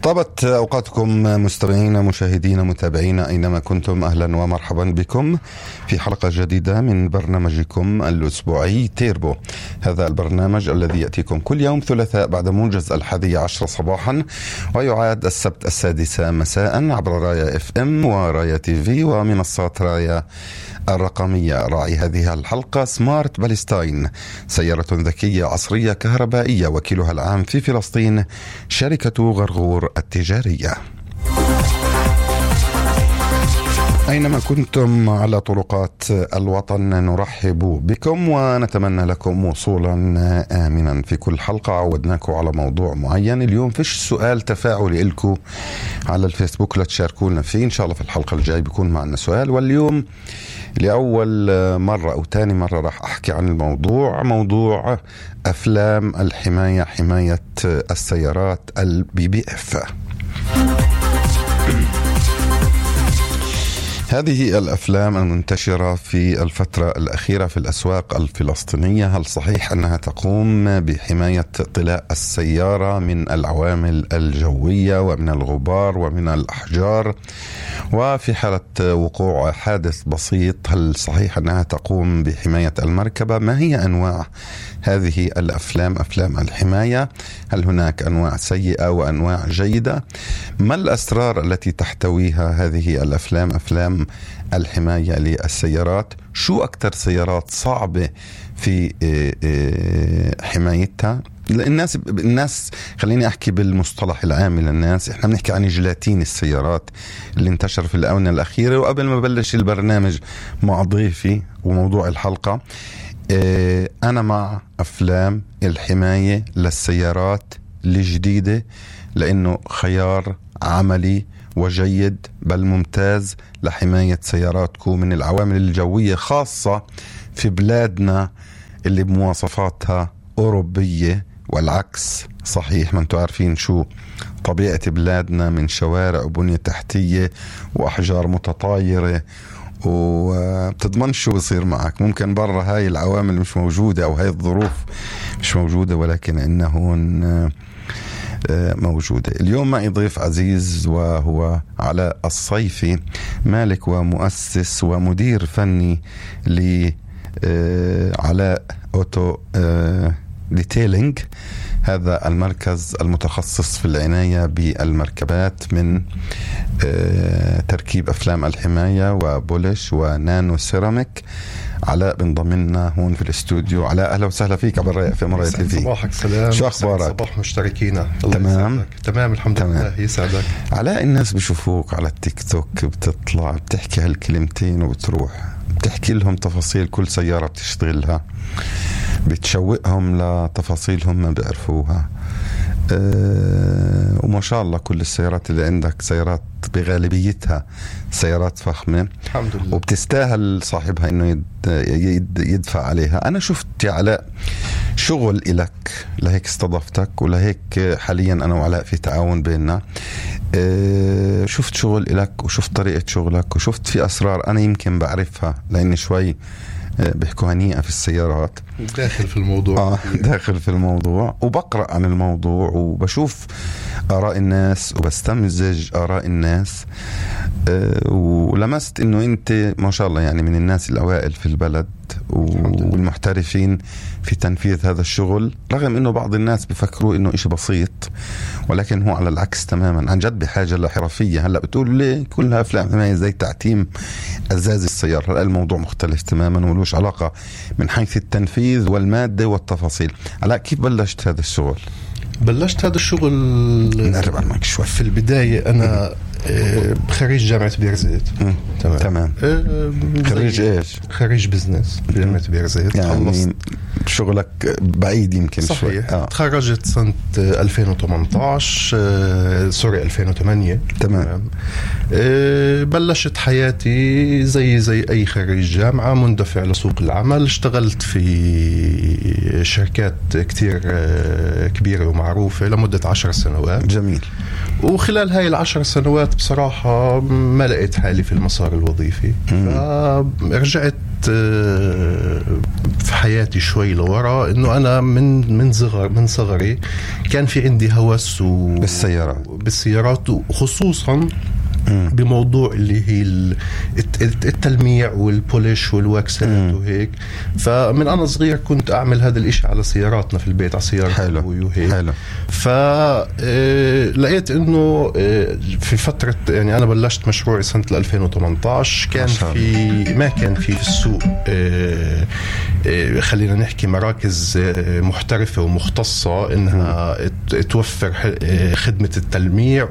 طابت أوقاتكم مستمعين مشاهدين متابعين أينما كنتم. أهلا ومرحبا بكم في حلقة جديدة من برنامجكم الأسبوعي تيربو. هذا البرنامج الذي يأتيكم كل يوم ثلاثاء بعد موجز 11 صباحا، ويعاد السبت 6 مساء عبر رايا FM ورايا TV ومنصات رايا الرقمية. راعي هذه الحلقة سمارت باليستاين، سيارة ذكية عصرية كهربائية، وكيلها العام في فلسطين شركة غرغور التجارية. أينما كنتم على طرقات الوطن نرحب بكم ونتمنى لكم وصولا آمنا. في كل حلقة عودناكم على موضوع معين. اليوم فيش سؤال تفاعلي لكم على الفيسبوك لا تشاركونا فيه، إن شاء الله في الحلقة الجاي بيكون معنا سؤال. واليوم لأول مرة أو تاني مرة راح أحكي عن موضوع أفلام الحماية، حماية السيارات الBBF. هذه الأفلام المنتشرة في الفترة الأخيرة في الأسواق الفلسطينية، هل صحيح أنها تقوم بحماية طلاء السيارة من العوامل الجوية ومن الغبار ومن الأحجار؟ وفي حالة وقوع حادث بسيط هل صحيح أنها تقوم بحماية المركبة؟ ما هي أنواع هذه الأفلام، أفلام الحماية؟ هل هناك أنواع سيئة وأنواع جيدة؟ ما الأسرار التي تحتويها هذه الأفلام، أفلام الحماية للسيارات؟ شو أكتر سيارات صعبة في حمايتها؟ الناس خليني أحكي بالمصطلح العام للناس، إحنا بنحكي عن جيلاتين السيارات اللي انتشر في الآونة الأخيرة. وقبل ما بلش البرنامج مع ضيفي وموضوع الحلقة، أنا مع أفلام الحماية للسيارات الجديدة، لأنه خيار عملي وجيد بل ممتاز لحماية سياراتكم من العوامل الجوية، خاصة في بلادنا اللي بمواصفاتها أوروبية والعكس صحيح. ما انتوا عارفين شو طبيعة بلادنا من شوارع وبنية تحتية وأحجار متطايرة، وبتضمن شو بصير معك. ممكن برا هاي العوامل مش موجودة أو هاي الظروف مش موجودة، ولكن إنه موجودة. اليوم معي ضيف عزيز وهو علاء الصيفي، مالك ومؤسس ومدير فني لعلاء أوتو ديتيلينج، هذا المركز المتخصص في العناية بالمركبات من تركيب أفلام الحماية وبولش ونانو سيراميك. علاء بنضمنا هون في الاستوديو. علاء أهلا وسهلا فيك عبر رايا في مرة تي في. صباحك سلام. شو أخبارك؟ صباح مشتركينا. تمام الحمد لله. يسعدك. علاء، الناس بيشوفوك على التيك توك بتطلع بتحكي هالكلمتين وبتروح بتحكي لهم تفاصيل كل سيارة بتشتغلها، بتشوقهم لتفاصيلهم ما بيعرفوها. وما شاء الله كل السيارات اللي عندك سيارات بغالبيتها سيارات فخمة الحمد لله، وبتستاهل صاحبها انه يدفع عليها. انا شفت يا علاء شغل إلك، لهيك استضفتك ولهيك حاليا انا وعلاء في تعاون بيننا. شفت شغل إلك وشفت طريقة شغلك وشفت في أسرار أنا يمكن بعرفها لأني شوي بيحكوا هنيئة في السيارات، داخل في الموضوع. داخل في الموضوع وبقرأ عن الموضوع وبشوف آراء الناس وبستمزج آراء الناس. ولمست إنه أنت ما شاء الله يعني من الناس الأوائل في البلد والمحترفين في تنفيذ هذا الشغل، رغم إنه بعض الناس بيفكروا إنه إشي بسيط، ولكن هو على العكس تماما، عن جد بحاجة لحرفية. هلأ بتقول ليه كلها أفلام حماية زي تعتيم أزاز السيارة؟ هلأ الموضوع مختلف تماما ولوش علاقة من حيث التنفيذ والمادة والتفاصيل. علاء كيف بلشت هذا الشغل؟ بلشت هذا الشغل نقرب عنك شوي. في البداية أنا خريج جامعة بيرزيت. تمام. خريج إيش؟ خريج بزنس جامعة بيرزيت. يعني شغلك بعيد يمكن. صحيح. تخرجت سنة 2018 سوري 2008. تمام. بلشت حياتي زي أي خريج جامعة، مندفع لسوق العمل. اشتغلت في شركات كتير كبيرة ومعروفة لمدة 10 سنوات. جميل. وخلال هاي 10 سنوات بصراحة ما لقيت حالي في المسار الوظيفي، فرجعت في حياتي شوي لورا إنه أنا من صغري كان في عندي هوس بالسيارات وخصوصا بموضوع اللي هي التلميع والبوليش والواكسات وهيك. فمن أنا صغير كنت أعمل هذا الإشي على سياراتنا في البيت، على سيارة أبوي وهيك. فلقيت إنه في فترة يعني أنا بلشت مشروعي سنة 2018 ما كان في السوق خلينا نحكي مراكز محترفة ومختصة إنها توفر خدمة التلميع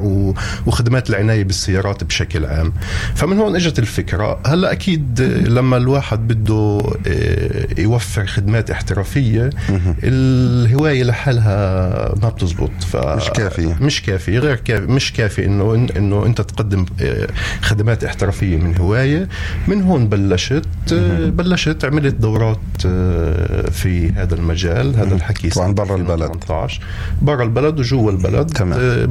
وخدمات العناية بالسيارات بشكل عام. فمن هون اجت الفكرة. هلا اكيد لما الواحد بده يوفر خدمات احترافية الهواية لحالها ما بتزبط، مش كافي انه انت تقدم خدمات احترافية من هواية. من هون بلشت عملت دورات في هذا المجال. هذا الحكي طبعا برا البلد وجوا البلد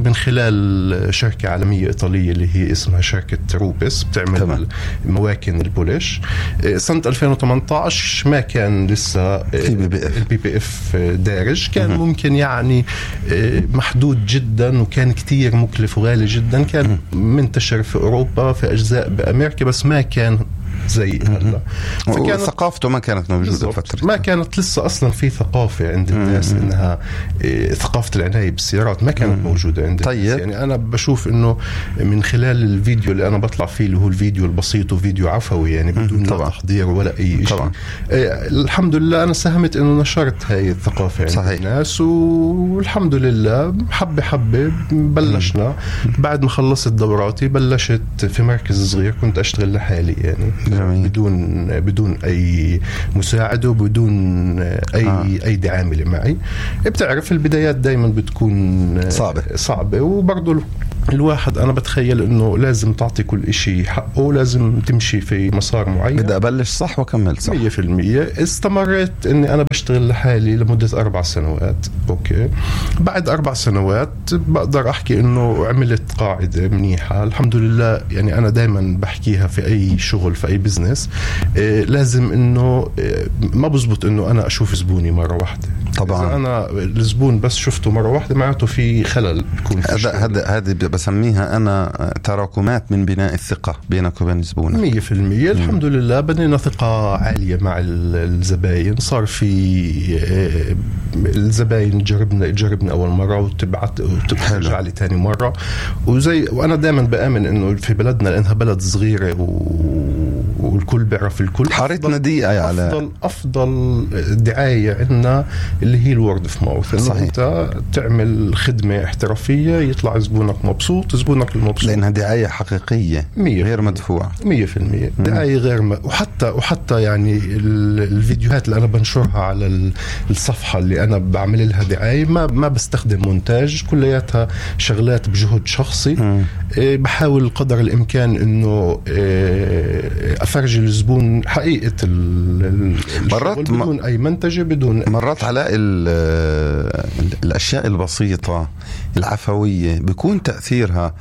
من خلال شركة عالمية إيطالية اللي هي اسمها شركة روبس، بتعمل مواكن البوليش. سنة 2018 ما كان لسه البي بي اف دارج، كان ممكن يعني محدود جدا، وكان كتير مكلف وغالي جدا. كان منتشر في أوروبا، في أجزاء بأمريكا، بس ما كان زي هلا. ثقافته ما كانت موجودة فترة، ما كانت لسه أصلا في ثقافة عند الناس إنها ثقافة العناية بالسيارات ما كانت موجودة عند الناس. يعني أنا بشوف إنه من خلال الفيديو اللي أنا بطلع فيه اللي هو الفيديو البسيط وفيديو عفوي يعني بدون تحضير ولا أي شيء، الحمد لله أنا ساهمت إنه نشرت هاي الثقافة عند الناس، والحمد لله حبة بلشنا. بعد ما خلصت دوراتي بلشت في مركز صغير، كنت أشتغل لحالي يعني بدون أي مساعدة وبدون أي دعامة معي. بتعرف البدايات دايما بتكون صعبة وبرضو الواحد أنا بتخيل إنه لازم تعطي كل إشي حقه، لازم تمشي في مسار معين. بدأ أبلش صح وكمل صح 100%. استمرت إني أنا بشتغل لحالي لمدة 4 سنوات. أوكي، بعد 4 سنوات بقدر أحكي إنه عملت قاعدة منيحة الحمد لله. يعني أنا دايما بحكيها في أي شغل، في أي بزنس، لازم إنه ما بزبط إنه أنا أشوف زبوني مرة واحدة. طبعا إذا أنا الزبون بس شفته مرة واحدة معناته في خلل. هذا بسميها أنا تراكمات من بناء الثقة بينك وبين زبونك. 100%. الحمد لله بنينا ثقة عالية مع الزباين. صار في الزباين جربنا أول مرة وترجع لي تاني مرة. وأنا دائما بآمن إنه في بلدنا لأنها بلد صغيرة والكل بيعرف الكل، حارتنا دقيقة على أفضل دعاية عندنا اللي هي الورد في ماوث. إنه أنت تعمل خدمة احترافية يطلع زبونك مبسوط، زبونك المبسوط، لأنها دعاية حقيقية غير مدفوعة. 100% دعاية غير وحتى يعني الفيديوهات اللي أنا بنشرها على الصفحة اللي أنا بعمل لها دعاية ما بستخدم مونتاج، كلياتها شغلات بجهد شخصي. بحاول قدر الإمكان إنه أفرجي الزبون حقيقة الشغل بدون أي منتجة، بدون مرات على الأشياء البسيطة العفوية بيكون تأثيرها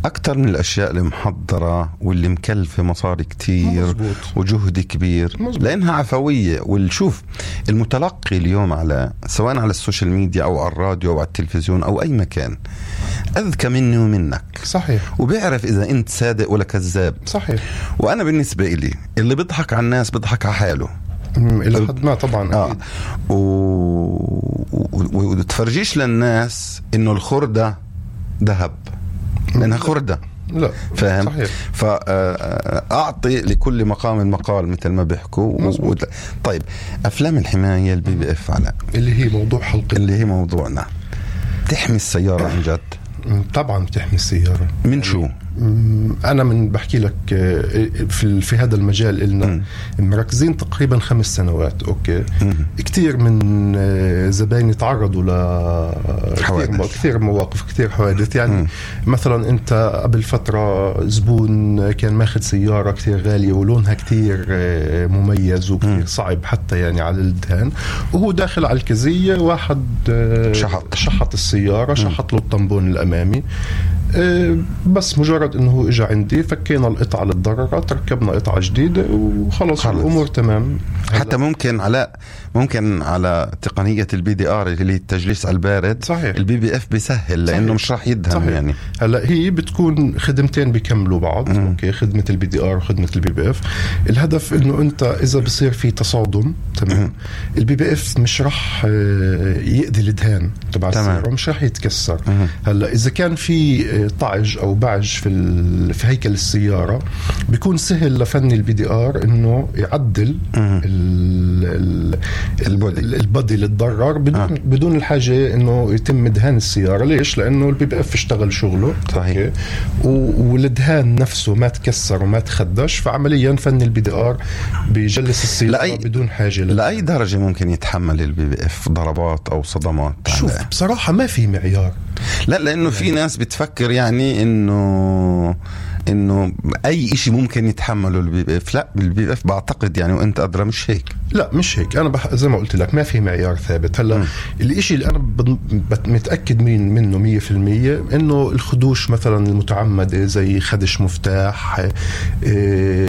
أكتر من الأشياء المحضرة واللي مكلفة مصاري كتير. مزبوط. وجهد كبير. مزبوط. لأنها عفوية. والشوف المتلقي اليوم على سواء على السوشيال ميديا أو على الراديو أو على التلفزيون أو أي مكان أذكى مني ومنك. صحيح. وبيعرف إذا أنت صادق ولا كذاب. صحيح. وأنا بالنسبة إلي اللي بيضحك على الناس بيضحك على حاله إلى حد ما طبعا. وتفرجيش للناس إنه الخردة ذهب، لأنها خردة. لا فاهم؟ صحيح. فأعطي لكل مقام مقال مثل ما بيحكوا. طيب أفلام الحماية البي بي اف على اللي هي موضوع حلقة، اللي هي موضوعنا، تحمي السيارة عن جد؟ طبعا بتحمي السيارة. من شو؟ أنا بحكي لك في هذا المجال إلنا مركزين تقريبا 5 سنوات. أوكي. كتير من زبايني تعرضوا كثير مواقف، كتير حوادث. يعني مثلا أنت قبل فترة زبون كان ماخذ سيارة كتير غالية ولونها كتير مميز وكتير صعب حتى يعني على الدهان، وهو داخل على الكزية واحد شحط السيارة، شحط له الطنبون الأمامي. بس مجرد انه هو اجى عندي فكينا القطعة للضررات ركبنا قطعة جديدة وخلص الامور تمام. حتى ممكن على تقنية الBDR اللي التجليس على البارد. صحيح. الBBF بيسهل لانه مش راح يدهن. صحيح. يعني هلا هي بتكون خدمتين بيكملوا بعض. اوكي، خدمة الBDR وخدمة الBBF. الهدف انه انت اذا بصير في تصادم تمام الBBF مش راح يأذي الدهان تبع السيارة ومش راح يتكسر. هلا اذا كان في طعج او بعج في هيكل السيارة بيكون سهل لفني الBDR انه يعدل البودي اللي تضرر بدون الحاجة انه يتم دهان السيارة. ليش؟ لانه الBBF اشتغل شغله. صحيح. والدهان نفسه ما تكسر وما تخدش، فعمليا فن الBDR بيجلس السيارة بدون حاجة لأي درجة ممكن يتحمل الBBF ضربات او صدمات؟ شوف بصراحة ما في معيار. لا، لانه في ناس بتفكر يعني انه اي اشي ممكن يتحمله الBBF. لا، الBBF بعتقد يعني وانت ادرى مش هيك. لا مش هيك. انا زي ما قلت لك ما في معيار ثابت. هلا الاشي اللي انا متاكد منه 100% انه الخدوش مثلا المتعمده زي خدش مفتاح،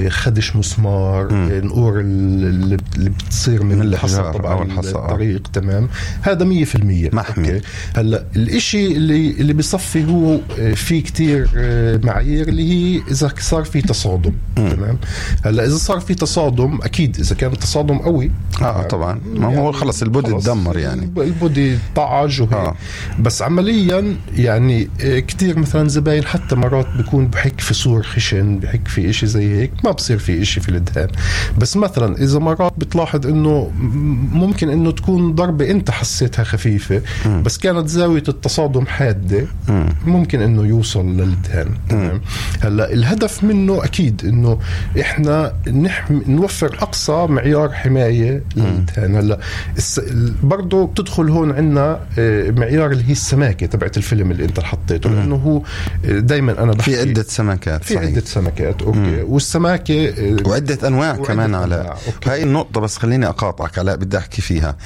خدش مسمار، نقور اللي بتصير من الحصى طبعا الطريق تمام، هذا 100% محمي. هلا الاشي اللي بيصفي هو في كتير معايير اللي هي اذا صار في تصادم. تمام. هلا اذا صار في تصادم اكيد اذا كان التصادم قوي طبعا ما هو يعني خلص البودي تدمر، يعني البودي طعج وهيك. بس عمليا يعني كتير مثلا زباين حتى مرات بيكون بحك في صور خشن، بحك في اشي زي هيك، ما بصير في اشي في الدهان. بس مثلا اذا مرات بتلاحظ انه ممكن انه تكون ضربة انت حسيتها خفيفة بس كانت زاوية التصادم حادة، ممكن انه يوصل للدهان. هلا الهدف منه اكيد انه احنا نوفر اقصى معيار حماية للدهان. هلا برضو بتدخل هون عنا معيار اللي هي السماكة تبعت الفيلم اللي انت حطيته، لانه هو دايما انا بحكي في عدة سمكات. في عدة سمكات. اوكي. والسماكة وعدة انواع كمان. على هاي النقطة بس خليني اقاطعك علاء، بدي احكي فيها.